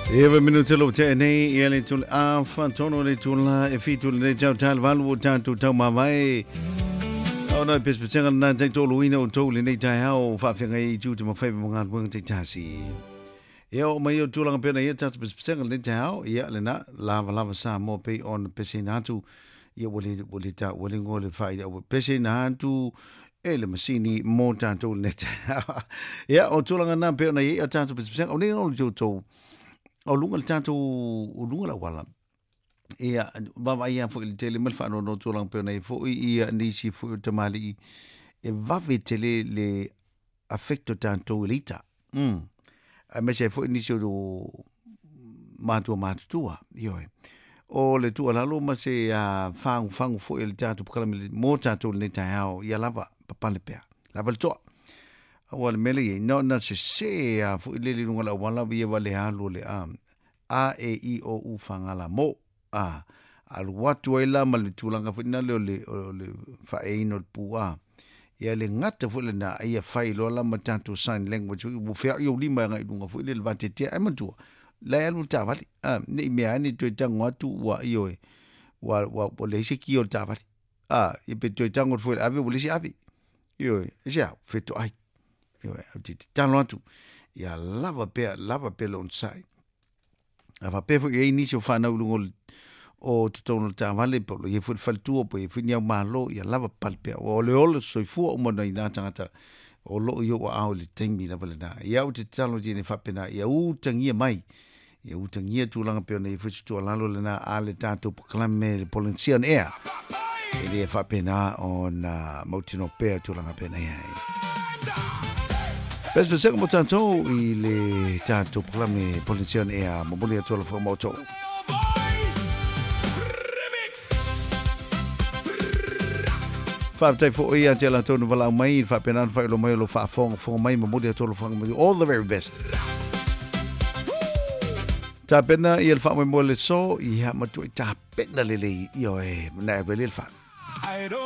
Eva minute lo te nei ia le tule a whatono le tula e fitu le tau tal valu o tātou tau mavae. Ona pespesenga na tai tolu ina o tau le nei tai hao whaawhenga i tū te mawhai mo ngā luenga te tasi. Ia o mai o tūlanga pena ia tātou pespesenga le tai hao ia le na lava lava sa mo pe on pesena atu ia wale wale ta wale ngo le whai ia pesena atu e le masini mo tātou le tai hao. Ia o tūlanga nā pe ona ia tātou pespesenga o nei o le tau o luga le tatou o luga la wala ia vava ia foi le tele ma le faanono tulaga pei ona i foi ia nisi foi o tamalii e vave tele le affect o tatou i le ita aemaise ai foi nisi o matua matutua ioe o le tuualalo ma se fagufagu foi o le tatou pakalame mo tatou lenei taeao ia lava papale pea lava le toa Aua le mele ia, na, na sese a foi le lunga la wala ia wale alu le a. A E I O U whangala mo. A. Alu atu ai la ma le tulaga foi na le o le, o le whaeina o le pu a. Ia le gata foi lena ia fai loa la ma tatou sign language ua fea'i ou lima agai i luga foi le le vatetea ai matua. La e alu le taavale. A, ne i mea ane toe tago atu ua ioe. Ua, ua, ua leai se kia o le taavale. A, ia pe toe tago atu foi i le ave ua leai se ave. Ioe, e se au, fetoai. Ioe, ou te tatalo atu, ia lava pea, lava pea le onosai. A faapea foi i ai nisi o whanau i luga o totonu o le taavale, po o lo i ai foi le faletua, po o i ai foi ni au malo, ia lava papale pea. Ua o le ola soifua uma nai nā tagata o loo i ou aao i le taimi lava lena. Ia ou te tatalo atu i nei faapena, ia utagia mai, ia utagia tulaga pei ona i ai foi se tuualalo lena a le tatou polokalame le Polensia on Air. E le faapena ona mautinoa pea tulaga pei ona i ai. Pesepesega mo tatou i le tatou polokalame Polensia on Air. Momoli atu alofa mo outou. Faafetai foi ia te latou na valaau mai, faapena ona faailoa mai o lo faafogafoga mai, momoli atu alofaga mai, all the very best. Tapena ia le faamoemoe le so, ia matuai tapena lelei, ioe, na e le wha.